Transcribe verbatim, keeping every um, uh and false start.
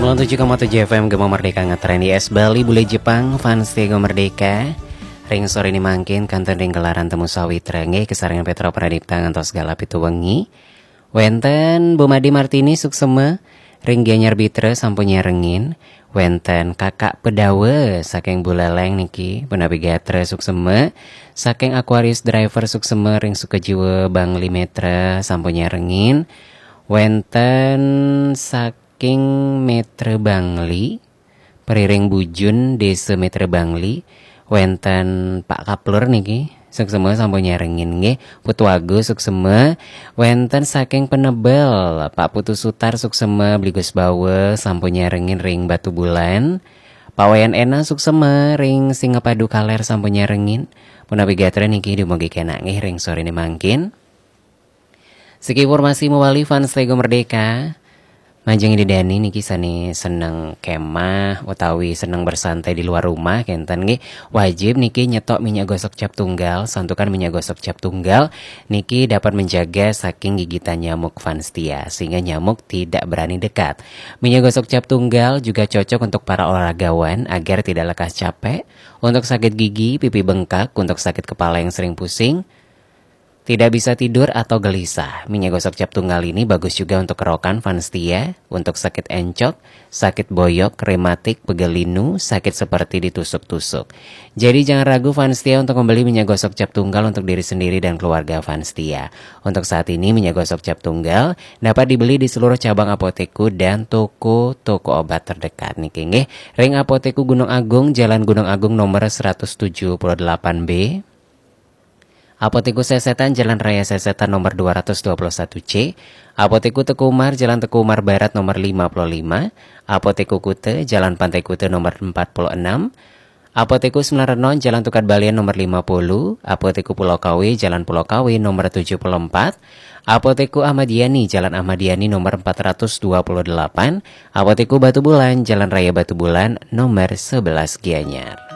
Nol tujuh koma tujuh F M Gema Merdeka ngetren di S Bali, Bule Jepang, fans Gema Merdeka. Ring sore ini mangkin kantun ring gelaran Temu Sawitra nggih, kesarengan Petra Pradipta ngantos galah pitu wengi. Wenten Bu Made Martini suksema, ring Gianyar Bitra sampun nyarengin. Wenten Kakak Pedawa saking Buleleng niki, punapi gatra suksema, saking Aquarius Driver suksema ring Sukajiwa Bangli Metra sampun nyarengin. Wenten saking Metra Bangli, Periring Bujun, Desa Metra Bangli, wenten Pak Kaplur niki, suksema sampun nyarengin nggih. Putu Agus suksema, wenten saking Penebel, Pak Putu Sutar suksema, Bligus Bawa sampun nyarengin ring Batubulan. Pak Wayan Ena suksema ring Singapadu Kaler sampun nyarengin. Punapi gatra niki dumugi kenak nggih ring sore ini mangkin. Siki informasi mawali fans Gema Merdeka. Majeng Ida Dani niki sane seneng kemah utawi seneng bersantai di luar rumah kenten nggih, wajib niki nyetok minyak gosok cap tunggal. Santukan minyak gosok cap tunggal niki dapat menjaga saking gigitan nyamuk fans setia, sehingga nyamuk tidak berani dekat. Minyak gosok cap tunggal juga cocok untuk para olahragawan agar tidak lekas capek, untuk sakit gigi, pipi bengkak, untuk sakit kepala yang sering pusing, tidak bisa tidur atau gelisah. Minyak gosok cap tunggal ini bagus juga untuk kerokan fans setia, untuk sakit encok, sakit boyok, rematik, pegal linu, sakit seperti ditusuk-tusuk. Jadi jangan ragu fans setia untuk membeli minyak gosok cap tunggal untuk diri sendiri dan keluarga fans setia. Untuk saat ini minyak gosok cap tunggal dapat dibeli di seluruh cabang Apotekku dan toko-toko obat terdekat niki nggih. Ring Apotekku Gunung Agung, Jalan Gunung Agung nomor seratus tujuh puluh delapan B. Apotekku Sesetan, Jalan Raya Sesetan nomor dua ratus dua puluh satu C. Apotekku Teku Umar, Jalan Teku Umar Barat nomor lima puluh lima. Apotekku Kute, Jalan Pantai Kute nomor empat puluh enam. Apotekku Sembilan Renon, Jalan Tukad Balian nomor lima puluh. Apotekku Pulau Kawe, Jalan Pulau Kawe nomor tujuh puluh empat. Apotekku Ahmad Yani, Jalan Ahmad Yani nomor empat ratus dua puluh delapan. Apotekku Batubulan, Jalan Raya Batubulan nomor sebelas Gianyar.